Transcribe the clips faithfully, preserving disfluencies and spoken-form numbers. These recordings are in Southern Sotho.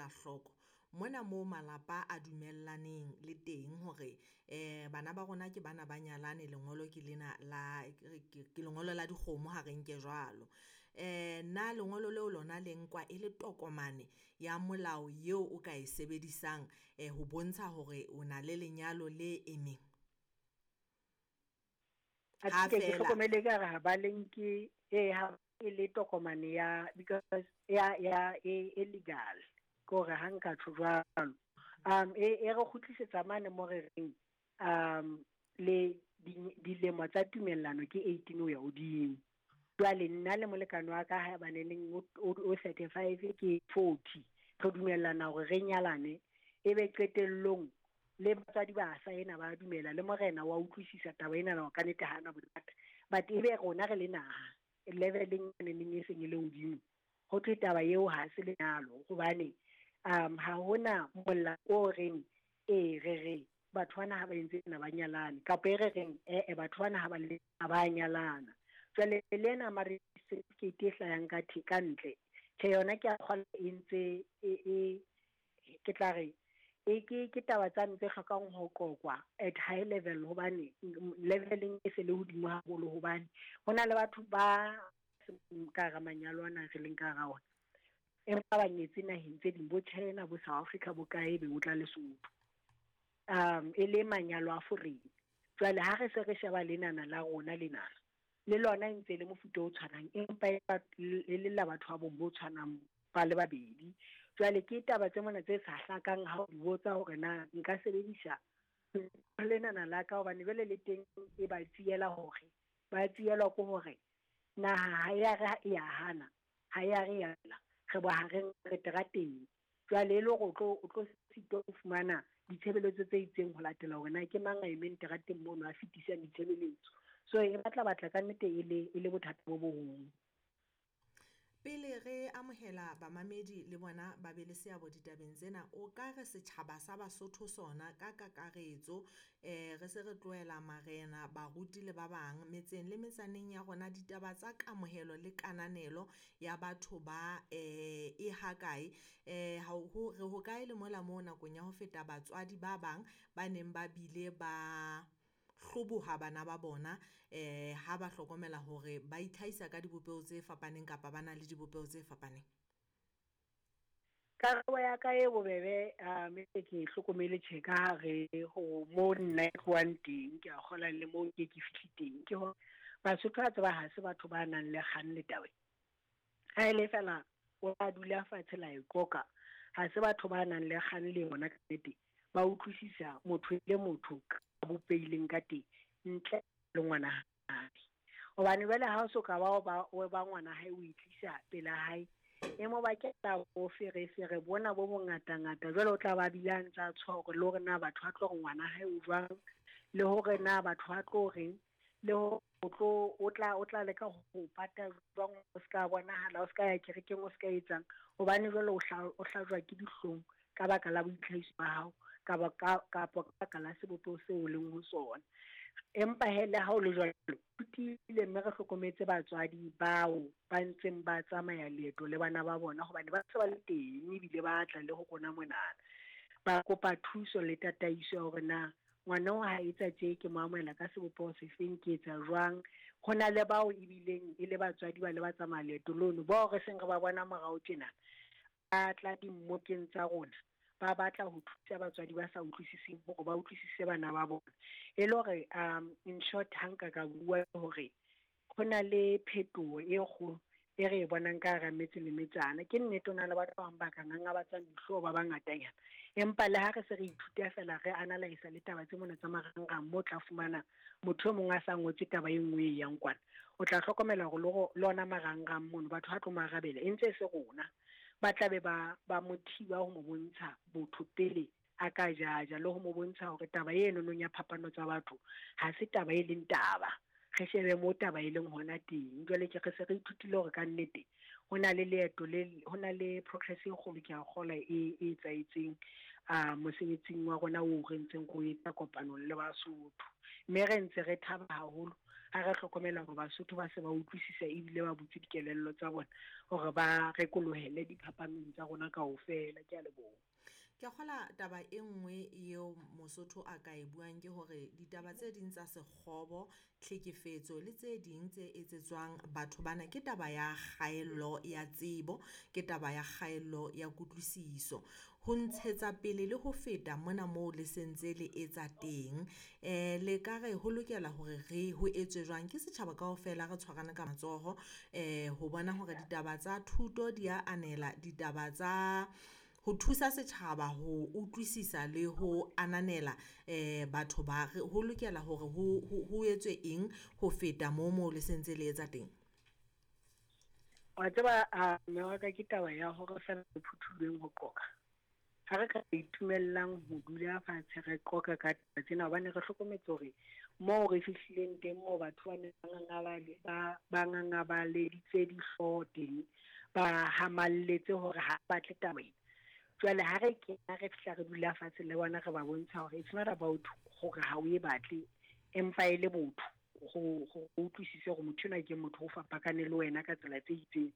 ela hloko. Mona moo malapa a dumellaneng le teng hore eh bana ba rona ke bana ba nyalane lengolo ke lena la ke lengolo la dikgomo ha re nke jwalo. Eh na lengolo leo lona le nkwa e le tokomane ya molao eo o ka e sebedisang eh ho bontsha hore o na le lenyalo le emeng? Ha ke hlokomele ka re ha ba le nke eh ha e le tokomane ya because ya ya e e legal ke hore ha nka tjho jwalo. Um e e re kgutlisetsa mane mo re reng um le dilemo tsa tumellano ke eighteen ho ya hodimo. Jwale nna le molekane wa ka ha ba ne leng o thirty-five ke forty, re dumellana hore re nyalane, e be qetellong le batswadi ba saena ba dumela le morena wa utlwisisa taba ena na ka nnete ha ana bothata. But ebe rona re le naha leveleng e neng e seng e le hodimo, ho thwe taba eo ha se lenyalo hobane um ha hona molao o reng e re re batho bana ha ba entse na ba nyalane, kapa e re reng eh eh batho bana ha ba le ba nyalana. Jwale le ena marriage certificate e hlayang ka the ka ntle, tjhe yona ke a kgolwa e ntse e e ke tla re e ke ke taba tsa ntse hlokang ho qoqwa at high level, hobane leveleng e se le hodimo haholo, hobane ho na le batho ba ka hara manyalo ana re leng ka hara ona, empa ba nyetse naheng tse ding, bo China, bo South Africa, bo kae, be o tla Lesotho, um e le manyalo a foreign. Jwale ha re se re sheba lenana la rona lenana le lona e ntse le mofuta o tshwanang, empa e le la batho ba bong bo tshwanang ba le babedi. Jwale ke taba tse mona tse sa hlakang ha o di botsa hore na nka sebedisa lenana la ka, hobane jwale le teng e ba tsiela hore ba tsielwa ke hore naha ha ya re ya hana, ha ya re ya la, re bohareng re terateng. Jwale e le hore o tlo o tlo sitwa ho fumana ditshebeletso tse itseng ho latela hore na ke mang a emeng terateng mono a fetisang ditshebeletso. So e batla batla ka nnete e le e le bothata bo boholo. Pele re amohela bamamedi le bona ba be le seabo ditabeng tsena, o ka re setjhaba sa Basotho sona ka kakaretso, eh re se re tlohela marena, baruti le ba bang metseng le metsaneng ya rona, ditaba tsa kamohelo le kananelo ya batho ba eh e hakae? Eh ha ho re ho kae le mola moo nakong ya ho feta batswadi ba bang ba neng ba bile ba hloboha bana ba bona eh ha ba hlokomela hore ba itlhahisa ka dibopeho tse fapaneng kapa ba na le dibopeho tse fapaneng? Karabo ya ka e bobebe, um ke hlokomele tjhe ka hare ho mo nna ke tlohang teng, ke a kgola le mo ke ke fihle teng, ke hore Basotho a tseba ha se batho ba nang le kgang le taba. Ha e le fela o a dula fatshe la e qoqa, ha se batho ba nang le kgang le yona ka nnete, ba utlwisisa motho le motho ka bopehileng ka teng ntle le ngwana hae. Hobane jwale ha o so ka ba o ba o ba ngwana hae o itlisa pela hae, e mo bakela bo ferefere bona bo bongatangata. Jwale o tla ba bile a ntsa tshoha hore le hore na batho ba tlo re ngwana hae o jwang, le hore na batho ba tlo reng, le hore o tlo o tla o tla leka ho pata jwang, o ska bonahala, o ska ya kerekeng, o ska etsang, hobane jwale o hla o hlajwa ke dihlong ka baka la boitlhahiso ba hao, ka ba ka kapa ka baka la sebopeho seo o leng ho sona. Empa he le ha o le jwalo, thutile mme re hlokometse batswadi bao ba ntseng ba tsamaya leeto le bana ba bona, hobane ba se ba le teng ebile ba tla le ho rona monana. Ba kopa thuso le tataiso ya hore na ngwana o ha etsa tje ke mo amohela ka sebopeho sefeng, ke etsa jwang. Ho na le bao ebileng e le batswadi ba le ba tsamaya leeto lono, bao re seng re ba bona morao tjena, ba tla dimmokeng tsa rona, ba batla ho thusa batswadi ba sa utlwisiseng hore ba utlwisise bana ba bona. E le hore um in short ha nka ka bua hore ho na le phetoho e kgolo e re e bonang ka hara metse le metsana. Ke nnete ho na le batho ba bang ba ka ngangabatsang dihlooho ba bangatanyana, empa le ha re se re ithuta fela re analyse le taba tse mona tsa marangrang, mo tla fumana motho e mong a sa ngotse taba e nngwe e yang kwana, o tla hlokomela hore le ona marangrang mono batho ha tlo mo arabela e ntse e se rona, ba tla be ba ba mo thiba ho mo bontsha botho pele a ka jaja, le ho mo bontsha hore taba eno nong ya phapano tsa batho ha se taba e leng taba, re shebe mo taba e leng hona teng. Jwale ke re se re ithutile hore ka nnete ho na le leeto le ho na le progress e kgolo ke a kgola e e etsahetseng a mosebetsing wa rona oo re ntseng re o etsa kopanong le Basotho, mme re ntse re thaba haholo Ha re hlokomela hore Basotho ba se ba utlwisisa ebile ba butse dikelello tsa bona hore ba rekolohele diphapanong tsa rona kaofela. Ke a leboha. Ke kgola taba e nngwe eo Mosotho a ka e buang ke hore ditaba tse ding tsa sekgobo, tlhekefetso le tse ding tse etsetswang batho bana ke taba ya kgaello ya tsebo, ke taba ya kgaello ya kutlwisiso. Ho ntshetsa pele le ho feta mona moo le sentse le etsa teng, eh le ka re ho lokela hore re ho etswe jwang ke setjhaba kaofela re tshwarane ka matsoho eh ho bona hore ditaba tsa thuto di ya anela, ditaba tsa ho thusa setjhaba ho utlwisisa le ho ananela eh batho ba re ho lokela hore ho ho etswe eng ho feta moo mo le sentse le etsa teng? Wa tseba a mme wa ka, ke taba ya hore fela re phuthuloheng ho qoqa. Ha re ka itumellang ho dula fatshe re qoqa ka taba tsena, hobane re hlokometse hore moo re fihlileng teng moo batho ba neng ba ba ngangabaleditse dihlooho teng, ba hamalletse hore ha batle taba ena. Jwale ha re kena re fihla re dula fatshe le bona, re ba bontsha hore it's not about hore ha o e batle, empa e le botho ho ho utlwisise hore motho enwa ke motho o fapakane le wena ka tsela tse itseng.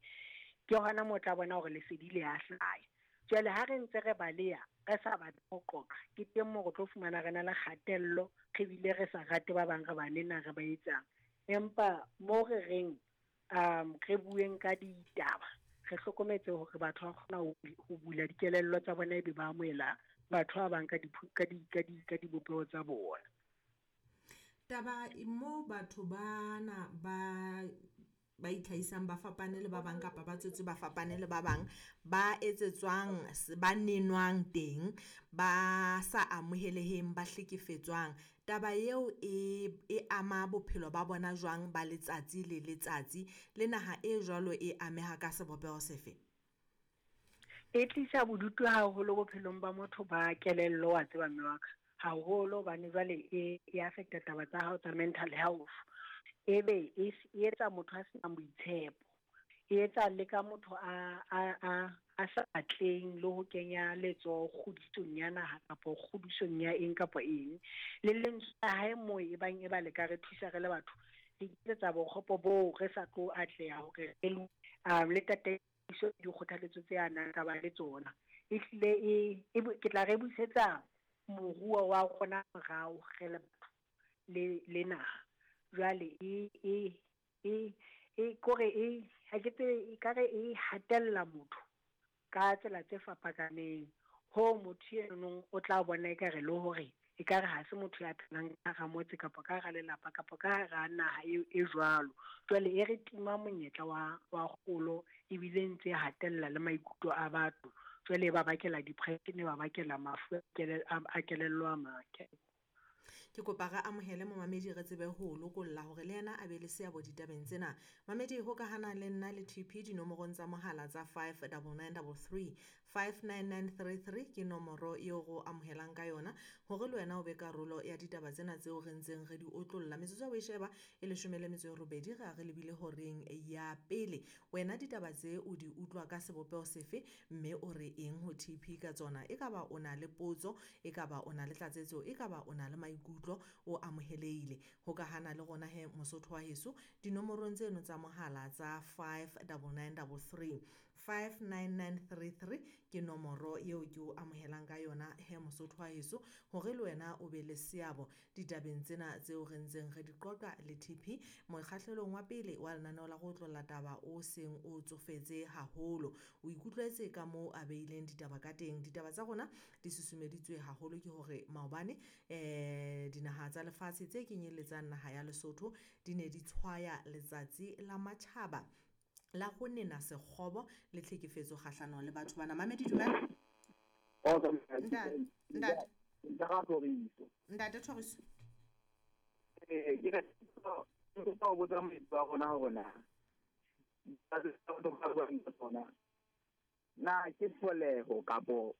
Ke hona moo o tla bona hore lesedi le ya hlaya. Jwale ha re ntse re baleha re sa batle ho qoqa, ke teng moo re tlo fumana re na le kgatello, re bile re sa rate ba bang re ba nena re ba etsang. Empa mo re reng um re bueng ka ditaba, re hlokometse hore batho ba kgona ho bula dikelello tsa bona ebe ba amohela batho ba bang ka di ka di ka di ka dibopeho tsa bona. Taba mo batho bana ba ba itlhahisang ba fapane le ba bang kapa ba tswetswe ba fapane le ba bang, ba etsetswang ba nenwang teng, ba sa amoheleheng, ba hlekefetswang. Taba eo e e ama bophelo ba bona jwang ba letsatsi le letsatsi, le naha e jwalo e ameha ka sebopeho sefe? E tlisa bodutu haholo bophelong ba motho ba kelello, wa tseba mme wa ka, haholo hobane jwale e e affecta taba tsa hao tsa mental health. Ebe e e etsa motho a senang boitshepo, e etsa le ka motho a a a a sa batleng le ho kenya letsoho kgodisong ya naha kapa kgodisong ya eng kapa eng. Le lentswe la hae moo e bang e ba le ka re thusa re le batho, re iketsetsa bokgopo boo re sa tlo atleha hore re um le tataiso dikgothaletso tse a nang ka ba le tsona. Ehlile e ke tla re busetsa moruo wa rona morao re le batho le le naha. Jwale e e e e kore e ha ke tsebe, ekare e hatella motho ka tsela tse fapakaneng. Ho motho enonong o tla bona ekare le hore ekare ha se motho ya phelang ka hara motse kapa ka hara lelapa kapa ka hara naha e e jwalo. Jwale e re tima monyetla wa wa kgolo ebile ntse hatella le maikutlo a batho. Jwale e ba bakela depression, e ba bakela mafu a kelello a make. Ke kopa re amohele momamedi re tsebe ho lokolla hore le yena a be le seabo ditabeng tsena. Mamedi hokahana le nna le T P dinomorong tsa mohala tsa five double nine double three, five nine nine three three ke nomoro eo re o amohelang ka yona hore le wena o be karolo ya ditaba tsena tseo re ntseng re di otlolla. Metsotso ya ho e sheba e leshome le metso e robedi re a re lebile horeng ya pele. Wena ditaba tse o di utlwa ka sebopeho sefe mme o re eng ho T P ka tsona? Ekaba o na le potso, ekaba o na le tlatsetso, ekaba o na le maikutlo, o amohelehile. Hokahana le rona he Mosotho wa heso dinomorong tseno tsa mohala tsa five double nine double three, five nine nine three three ke nomoro eo ke o amohelang ka yona he Mosotho wa heso hore le wena o be le seabo ditabeng tsena tseo re ntseng re di qoqa le T P mokgahlelong wa pele wa lenaneo la go otlolla taba o seng o tsofetse haholo. O ikutlwetse ka moo a beileng ditaba ka teng. Ditaba tsa rona di susumeditswe haholo ke hore maobane eh dinaha tsa lefatshe tse kenyelletsang naha ya Lesotho di ne di tshwaya letsatsi la matjhaba la ho nena sekgobo le tlhekefetso kgahlanong le batho bana. Mamedi dumela. Ntate, ntate. Ntate Thoriso. Eh, ke re ke tla botsa moetsi wa rona hore na na ke tlholeho kapo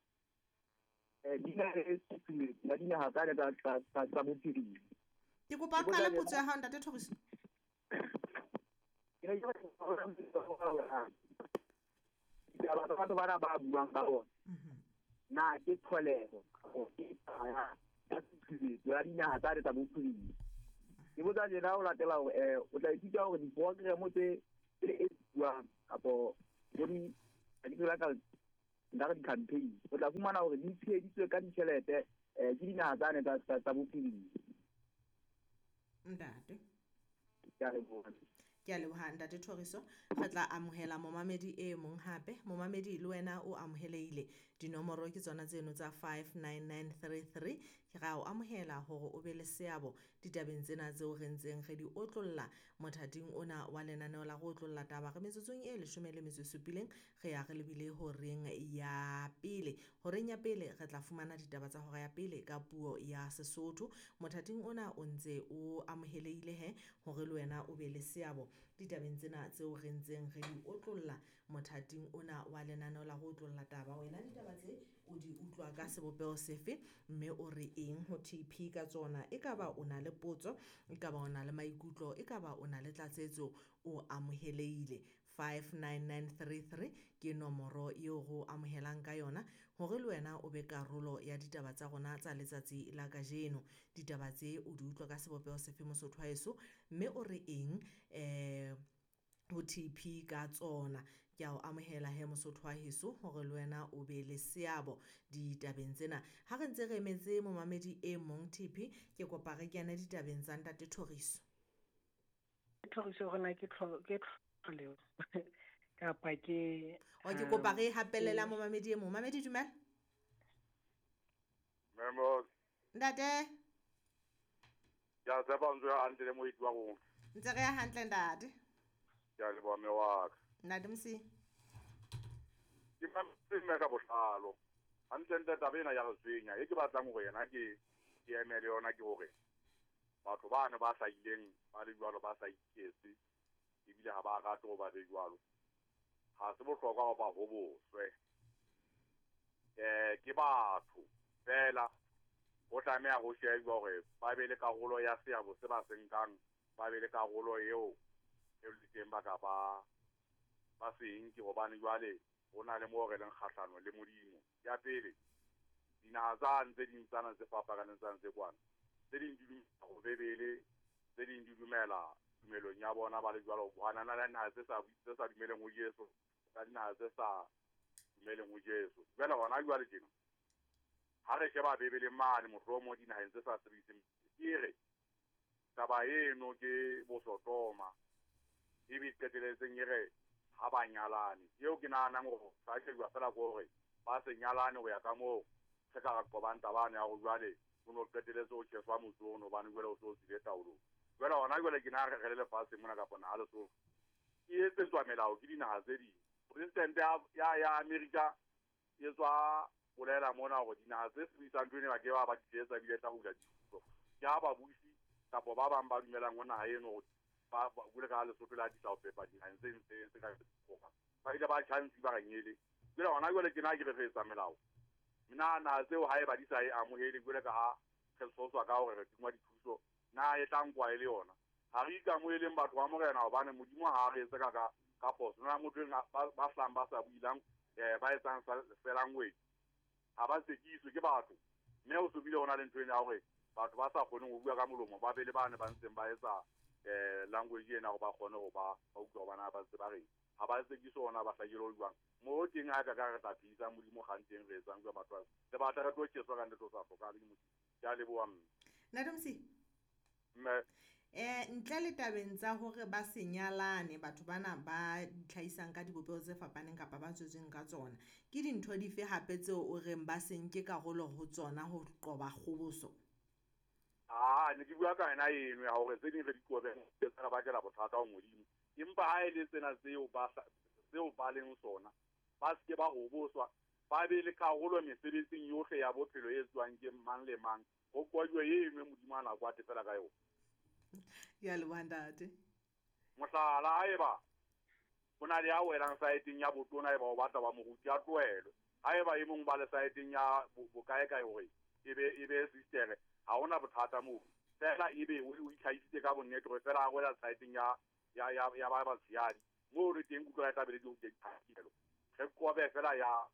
eh di na le tshusumetso ya dinaha tsa tsa tsa tsa bophirima. Ke kopa o qale potso ya hao ntate Thoriso. Ke ne ke batla ditaba tsa batho bana ba buang ka bona. Na ke tlholeho kapo ke ya tshusumetso ya dinaha tsa tsa bophirima. Ke botsa tjena ho latela hore eh o tla ithuta hore di-program tse tse etsuwang kapo bo di di ka nka re di-campaign, o tla fumana hore di tsheheditswe ka ditjhelete eh ke dinaha tsane tsa tsa bophirima. Ntate. Ke a leboha. Ke a leboha ntate Thoriso. Re tla amohela momamedi e mong hape. Momamedi le wena o amohelehile. Dinomoro ke tsona tseno tsa five nine nine three three. Ke ra o amohela hore o be le seabo ditabeng tsena tseo re ntseng re di otlolla mothating ona wa lenaneo la go otlolla taba. Re metsotsong e leshome le metso e supileng re ya re lebile horeng ya pele. Horeng ya pele re tla fumana ditaba tsa hora ya pele ka puo ya Sesotho. Mothating ona o ntse o amohelehile he hore le wena o be le seabo ditabeng tsena tseo re ntseng re di otlolla mothating ona wa lenaneo la go otlolla taba. Wena ditaba tse o di utlwa ka sebopeho sefe mme o re eng ho T P ka tsona? Ekaba o na le potso, ekaba o na le maikutlo, ekaba o na le tlatsetso, o amohelehile. five nine nine three three ke nomoro eo re o amohelang ka yona hore le wena o be karolo ya ditaba tsa rona tsa letsatsi la kajeno. Ditaba tse o di utlwa ka sebopeho sefe Mosotho wa heso mme o re eng eh ho T P ka tsona? Ke a o amohela he Mosotho wa heso hore le wena o be le seabo ditabeng tsena. Ha re ntse re emetse momamedi e mong T P, ke kopa re kene ditabeng tsa ntate Thoriso. Thoriso rona ke tlho ke tlholeo kapa ke o ke kopa re hapelela momamedi e mong. Mamedi dumela. Memo. Ntate. Ya tshepa ntse ya hantle le moeti wa rona. Ntse re ya hantle ntate. Ke a leboha mme wa ka. Ntate Msi. Ke mme ka botlalo. Hantle taba ena ya re tshwenya. E ke batlang hore yena ke ke emele yona ke hore batho ba ne ba hlahileng ba le jwalo ba sa iketse ebile ha ba rate ho ba le jwalo. Ha se bohlokwa hore ba hoboswe. Eh ke batho fela ho tlameha ho shejwa hore ba be le karolo ya seabo se ba se nkang, ba be le karolo eo e le teng ba ka ba ba se nke hobane jwale ho na le moo re leng kgahlano le Modimo. Ya pele, dinaha tsane tse ding tsana tse fapakaneng tsane tse kwana, tse ding di dumela ho Bebele, tse ding di dumela tumelong ya bona ba le jwalo. Ho na le naha tse sa tse sa dumeleng ho Jesu, ka dinaha tse sa dumeleng ho Jesu. Jwale hona jwale tjena ha re sheba Bebele mane mohlomong dinaheng tse sa sebediseng, e re taba eno ke bosotoma ebe qeteletseng e re ha ba nyalane. Eo ke nahanang hore sa shejwa fela ke hore ba se nyalane ho ya ka moo re ka qobang taba ya hore jwale o no qeteletse o tjheswa motse ono hobane jwale o so tswile taolong. Jwale hona jwale ke na re re le lefatshe mona kapa naha Lesotho e etsetswa melao ke dinaha tse ding. President ya ya America e tswa bolela mona hore dinaha tse sebedisang ntho ena ba ke ba ba di etsa ebile tla hula dithuso. Ke ha babusi kapa ba bang ba dumelang ho naha eno hore ba bule ka Lesotho la di tla ho pepa dinaheng tse ntse tse ka tloha. Ba ile ba chance ba re nyele. Jwale hona jwale ke na ke re re etsa melao. Mina naha tseo haeba di sa e amohele jwale ka ha re soswa ka hore re tingwa dithuso, na e tla nkwa e le yona. Ha re ikamoheleng batho ba Morena hobane Modimo ha re etse ka ka ka phoso. Na motho ba ba hlang ba sa builang eh ba etsang language ha ba sekiswe ke batho. Mme o so bile hona le ntho ena ya hore batho ba sa kgoneng ho bua ka molomo ba be le bane ba ntseng ba etsa eh language ena hore ba kgone ho ba ba utlwa bana ba ntse ba reng. Ha ba sekiswe hona ba hlakile ho jwang. Mo teng ha ka ka re tla phisa Modimo kganteng re etsang jwa batho. Le batla re tlo tjheswa ka ntho tsa hlokahale ke Modimo. Ke a leboha mme. Ntate Msi. Mme. Eh ntle le tabeng tsa hore ba se nyalane batho bana ba tlhaisang ka dibopeho tse fapaneng kapa ba tswetsweng ka tsona, ke dintho dife hape tseo o reng ba se nke karolo ho tsona ho qoba kgoboso? Ah, ne ke bua ka yena eno ya hore tse ding re di qobe tse re bakela bothata ho Modimo. Empa ha e le tsena tseo ba tseo ba leng sona, ba se ke ba hoboswa, ba be le karolo mesebetsing yohle ya bophelo e tswang ke mang le mang. Ho qojwe eno Modimo a na kwate fela ka yona. Ke a leboha ntate. Mohlala haeba ho na le ya welang saeteng ya botona eba o batla ba moruti a tlohele. Haeba e mong ba le saeteng ya bokae kae hore ebe ebe sister ha hona bothata moo. Fela ebe o itlhahisitse ka bonnete hore fela a wela saeteng ya ya ya ya ba batshehadi. Moo re teng kutlwa ya tla be le dikgelo. Re qobe fela ya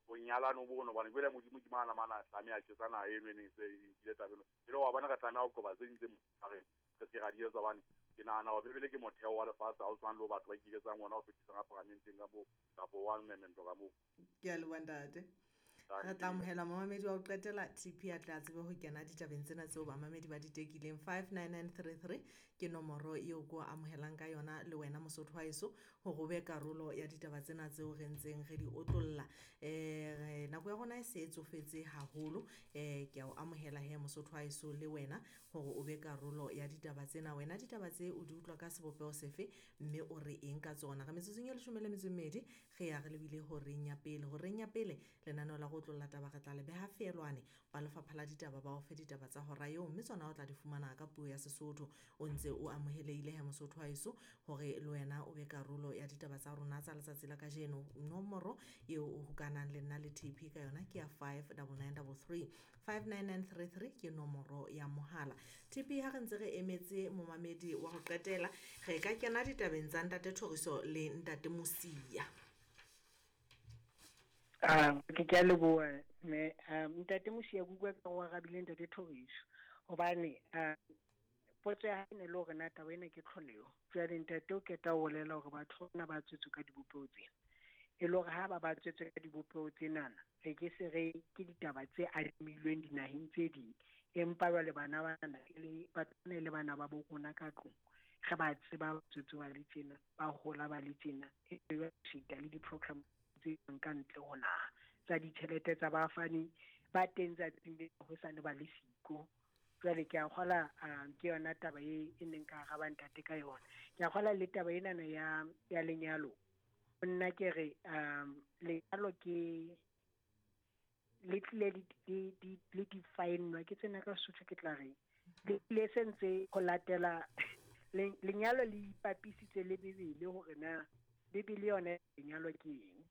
bonyalano bono hobane jwale Modimo ke mana mana tlameha tjhesa naha eno e neng se e nkile tabeng. E le wa bona re tlameha ho qoba tse ding tse re Re se ra di etsa hobane ke nahana hore Bibele ke motheo wa lefatshe, ha o tshwane le ho batho ba iketsang ona ho fetisang ka paramenteng ka moo kapa wa memento ka moo. Ke a leboha ntate. Re tla amohela momamedi wa ho qetela T P a tla tsebe ho kena ditabeng tsena tseo bamamedi ba di tekileng. Five nine nine three three ke nomoro eo ko amohelang ka yona le wena Mosotho wa heso hore o be karolo ya ditaba tsena tseo re ntseng re di otlolla. Eh, nako ya rona e se e tsofetse haholo. Eh, ke a o amohela he Mosotho wa heso le wena hore o be karolo ya ditaba tsena. Wena ditaba tse o di utlwa ka sebopeho sefe mme o re eng ka tsona? Re metsotsong e leshome le metso e mmedi re ya re lebile horeng ya pele. Horeng ya pele lenaneo la go otlolla taba re tla le beha feelwane ba lefapha la ditaba ba o fe ditaba tsa hora eo, mme tsona o tla di fumana ka puo ya Sesotho. O ntse o amohelehile he Mosotho wa heso hore le wena o be karolo ya ditaba tsa rona tsa letsatsi la kajeno. Nomoro eo o hokanang le nna le T P ka yona ke ya five double nine double three. Five nine nine three three ke nomoro ya mohala. T P ha re ntse re emetse momamedi wa ho qetela, re ka kena ditabeng tsa Ntate Thoriso le Ntate Mosia. Ah, ke ke a leboha mme, ah, Ntate Mosia ke utlwa ka o arabile Ntate Thoriso hobane, ah, potso ya hae ne le hore na taba ena ke tlholeho. Jwale ntate o qeta ho bolela hore batho bana ba tswetswe ka dibopeho tsena, e le hore ha ba ba tswetswe ka dibopeho tsenana re ke se re ke ditaba tse adimilweng dinaheng tse ding, empa jwale bana bana e le batho bana e le bana ba bo rona ka tlung, re ba tseba ba tswetswe ba le tjena, ba hola ba le tjena, e be esita le di-program tse tswang ka ntle ho naha tsa ditjhelete tsa bafani ba teng tsatsing le ho sane ba le siko. Jwale ke a kgola, ah, ke yona taba e, e neng ka araba ntate ka yona. Ke a kgola le taba enana ya, ya lenyalo. Nna ke re, um, lenyalo ke le tlile di, di, di, le define-nwa, ke tsena ka Sesotho ke tla reng, le tlile se ntse ho latela le-, lenyalo le ipapisitse le Bibele hore na Bibele yona lenyalo ke eng.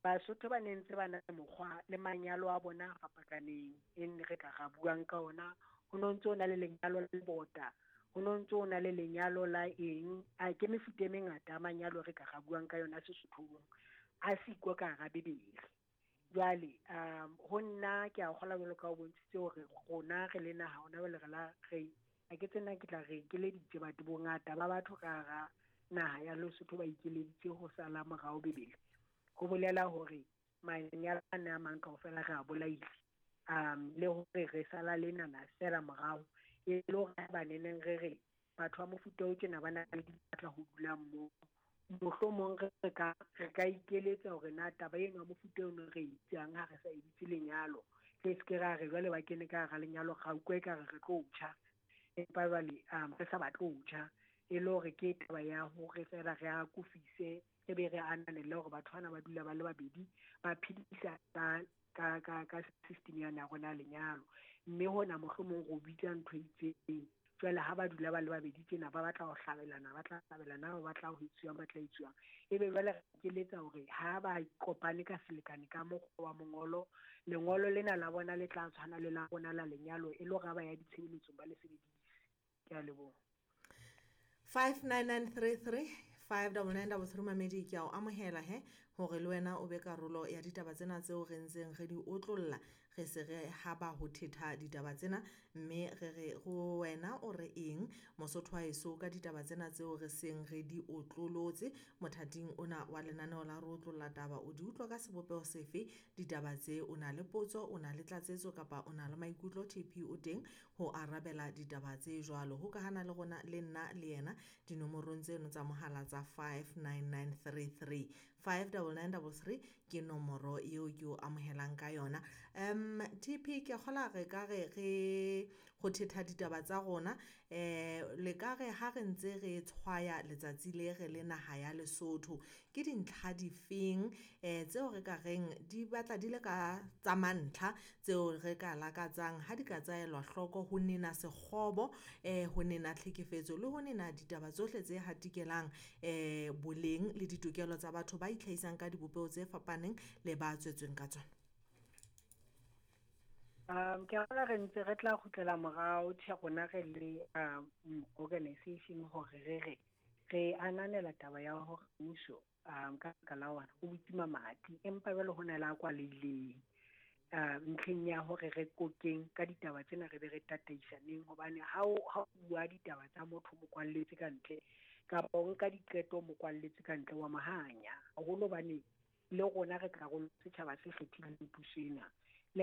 Basotho ba ne ntse ba na le mokgwa le manyalo a bona a fapakaneng, e neng re ka ra buang ka ona. Ho no ntso na le lenyalo la lebota, ho no ntso na le lenyalo la eng, a ke mefuta e mengata ya manyalo re ka ra buang ka yona Sesothong, a siko ka hara Bibele. Jwale, um, ho nna ke a kgolwa jwalo ka o bontshitse hore rona re le naha hona jwale re la re, ha ke tsena ke tla re ikeleditse batho, bongata ba batho ka hara naha ya Lesotho ba ikeleditse ho sala morao Bibele. Ho bolela hore manyalo a ne a mang kaofela re a bolaile, um, le hore re sala lenana fela morao, e le hore ha ba neneng re re batho ba mofuta o tjena ba na le dibatla ho dula mmoho, mohlomong re ka, re ka ikeletsa hore na taba eno ya mofuta ono re e itsang ha re sa e bitse lenyalo, re se ke ra re jwale ba kene ka hara lenyalo, ra utlwa ekare re tlo tjha, empa jwale, um, re sa batle ho tjha, e le hore ke taba ya hore fela re akofise, re be re ananele hore batho bana ba dula ba le babedi, ba phedisa ka, ka, ka, ka system yana ya rona ya lenyalo, mme hona mohlomong re bitsa ntho e itseng. Jwale ha ba dula ba le babedi tjena, ba batla ho hlabelana, ba tla hlabelana, ba batla ho etsuwang, ba tla etsuwang. Ebe jwale re keletsa hore ha ba kopane ka selekane ka mokgwa wa mongolo, lengolo lena la bona le tla tshwana le la rona la lenyalo, e le hore ha ba ya ditshebeletsong ba le sebedise. Ke a leboha. Five nine nine three three, five double nine double three, mamedi, ke a o amohela he hore le wena o be karolo ya ditaba tsena tseo re ntseng re di otlolla. Re se re haba ho thetha ditaba tsena, mme re re ho wena o re eng Mosotho wa heso ka ditaba tsena tseo re seng re di otlolotse mothating ona wa lenaneo la re otlolla taba. O di utlwa ka sebopeho sefe ditaba tse? O na le potso, o na le tlatsetso kapa o na le maikutlo? T P o teng ho arabela ditaba tse jwalo. Hokahana le rona, le nna le yena dinomorong tseno tsa mohala tsa five nine nine three three, five double nine double three ke nomoro eo ke o amohelang ka yona. Um, T P, ke kgola re ka re re ho thetha ditaba tsa rona, eh, le ka re ha re ntse re tshwaya letsatsi le re le naha ya Lesotho, ke dintlha difeng, eh, tseo re ka reng di batla di le ka tsa mantlha tseo re ka lakatsang ha di ka tsaelwa hloko ho nena sekgobo, eh, ho nena tlhekefetso le ho nena ditaba tsohle tse hatikelang, eh, boleng le ditokelo tsa batho ba itlhahisang ka dibopeho tse fapaneng le ba tswetsweng ka tsona? Um, ke rata re ntse re tla kgutlela morao tjhe rona re le, um, organization hore re re re ananela taba ya hore mmuso, um, ka baka la ona o butse mamati, empa jwale ho na le a kwalehileng. uh, ntlheng ya hore re kokeng ka ditaba tsena re be re tataisaneng, hobane ha o ha o bua ditaba tsa motho mo kwalletse ka ntle kapa o nka diqeto mo kwalletse ka ntle wa mahanya haholo, hobane le rona re karolo setjhaba se kgethileng puso ena.